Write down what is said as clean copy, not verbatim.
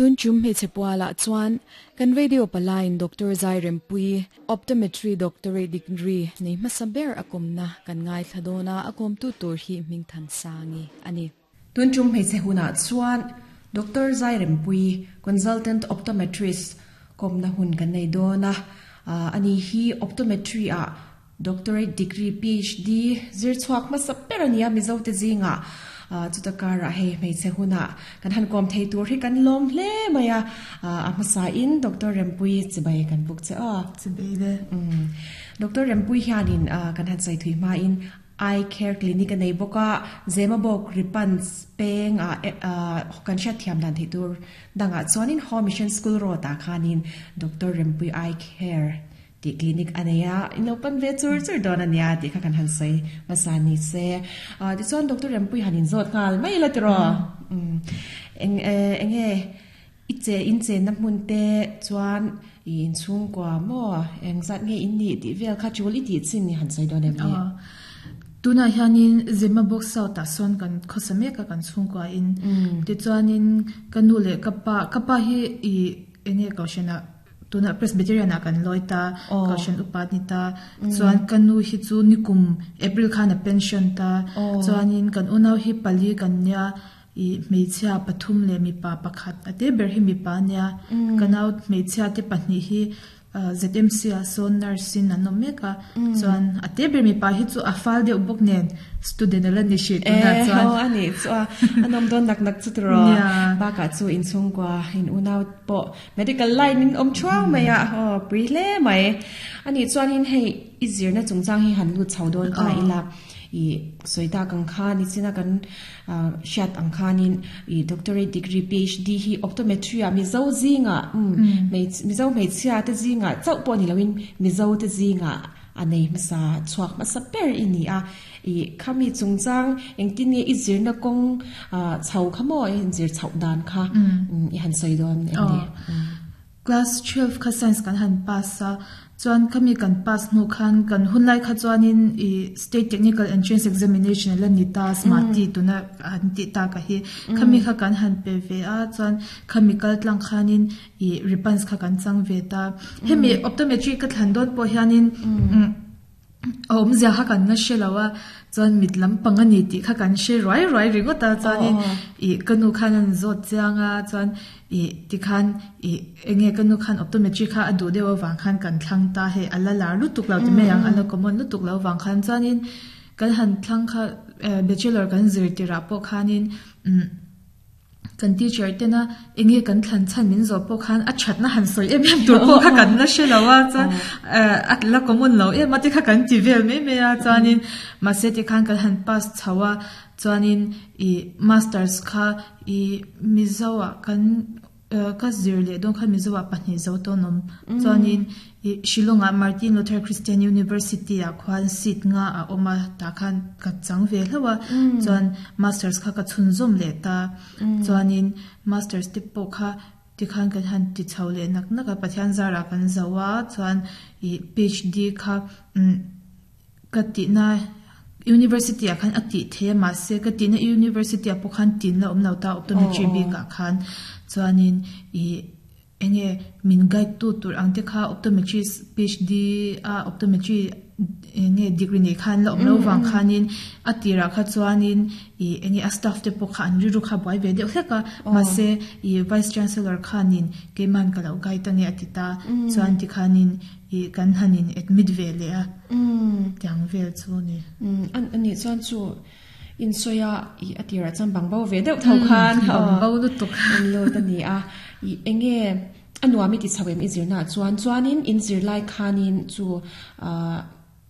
Tun tum hmeichhe pualah chuan kan radio palaiin Doctor Zairempuii Optometry Doctorate Degree nei hmasa ber a kawmna kan ngaithla dawn a, a kawmtu tur hi Hmingthansangi a ni. Tun tum hmeichhe hunah chuan Doctor Zairempuii Consultant Optometrist kawmna hun kan nei dawn a, ani hi Optometry ah Doctorate degree PhD zir chhuak hmasa ber a nia Mizote zingah chuta karah hei hmeichhe hunah kan han kawm thei tur hi kan lawm hle mai a, a hmasain Doctor Rempuii chibai kan buk che aw. Chibai le. Doctor Rempuii hianin kan han sawi thui hmain Eye Care Clinic a nei bawk a, Zemabawk Ripans peng ah kan hriat thiam dan theih tur dangah chuanin Home Mission School Road ah khanin Doctor Rempuii Eye Care Tih clinic a nei a, in lo pan ve chur chur dawn a nia tih kha kan han sawi hmasa ni se. Tichuan Doctor Rempuii han inzawt nghal mai ila tiraw? Eng eng nge i che in chenna hmun te chuan i inchhungkua maw eng zat nge in nih tih vel kha tul i tih chin i han sawi dawn em ni? Tunah hianin Zemabawk South ah sawn kan khawsa mek a kan chhungkua in. Tichuanin ka nu leh ka pa, ka pa hi i eng nge kohhranah Tunah Presbyterian ah kan lawi ta, Kohhran upa a ni ta. Chuan ka nu hi chu nikum April khan a pension ta. Chuanin kan unau hi pali kan nia, ih hmeichhia pathum leh mipa pakhat a te ber hi mipa a nia. Ka nau hmeichhia te pahnih hi ZMC ah sawn nurse in an awm mek a. Chuan a te ber mipa hi chu a fal deuh bawk nen student a la ni hrih tunah chuan. E ho a nih chu a, a nawm dawn nak nak chu tiraw. Bakah chu inchhungkua in unau pawh Medical line in awm thuang mai a, aw pui hle mai. Anih chuanin hei i zirna chungchang hi han lut chho dawn ta ila, i sawi tak ang khan i china kan hriat ang khanin i doctorate degree PhD hi optometry ah Mizo zingah Mizo hmeichhia te zingah chauh pawh ni loin Mizo te zingah a nei hmasa chhuak hmasa ber i ni a. I khami chungchang engtin nge i zirna kawng chho kha maw i inzir chhoh dan kha i han sawi dawn em ni? Class 12 kha science kan han pass a, chuan khami kan pass hnu khan kan hunlai kha chuanin i state technical entrance examination a la ni ta smati tuna an tih tak a hi khami kha kan han pe ve a, chuan khami kal tlang khanin i ripans kha kan chang ve ta. Hemi optometry ka thlan dawn pawh hianin A awmzia kha kan la hre lo a, chuan mit lampang a ni tih kha kan hre ruai ruai ringawt a, chuanin ih ka nu khan a zawt chiang a, chuan ih tikhan ih eng nge ka nu khan optometry kha a duh deuh avang khan kan thlang ta hei a la lar lutuk lo ti mai ang, a la common lutuk lo avang khan chuanin kan han thlang kha bachelor kan zir tirah pawh khanin umm. Kan teacher tena eng nge kan thlan chhan min zawh pawh khan a thatna han sawi em em tur pawh kha kan la hre lo a, chuan a la common lo em a te kha kan ti vel mai mai a, chuanin mahse tikhan kan han pass chho a, chuanin ih masters kha ih Mizo ah kan ka zir leh dawn khan Mizo ah pahnih zo tawn awm, chuanin Ih Shillong ah Martin Luther Christian University ah khuan seat nga a awm a, tah khan ka chang ve hlauh a, chuan masters kha ka chhunzawm leh ta, chuanin masters te pawh kha tikhan kan han ti chho leh nak nak a, Pathian zarah kan zo a, chuan ih PhD kha umm ka tihna University ah khan a tih thei a, mahse ka tihna University ah pawh khan tin la awm lo ta optometry bikah khan, chuanin ih. Enge min guide tu tur ang te kha optometrist PhD a optometry enge degree nei khan la awm lo vang khanin a tirah kha chuanin ih enge a staff te pawh kha an rilru kha buai ve deuh hlek a mahse ih vice chancellor khanin keiman ka lo guide ange a ti ta chuan tikhanin ih kan han in admit ve leh a tiang vel chu a ni. Anih chuan chu Insawi a, ih a tirah chuan bang bo ve deuh tho khan bang bo lutuk an lut a ni a. Ih eng nge a nuam i ti chho em i zirnaah chuan chuanin in zir lai khanin chu ah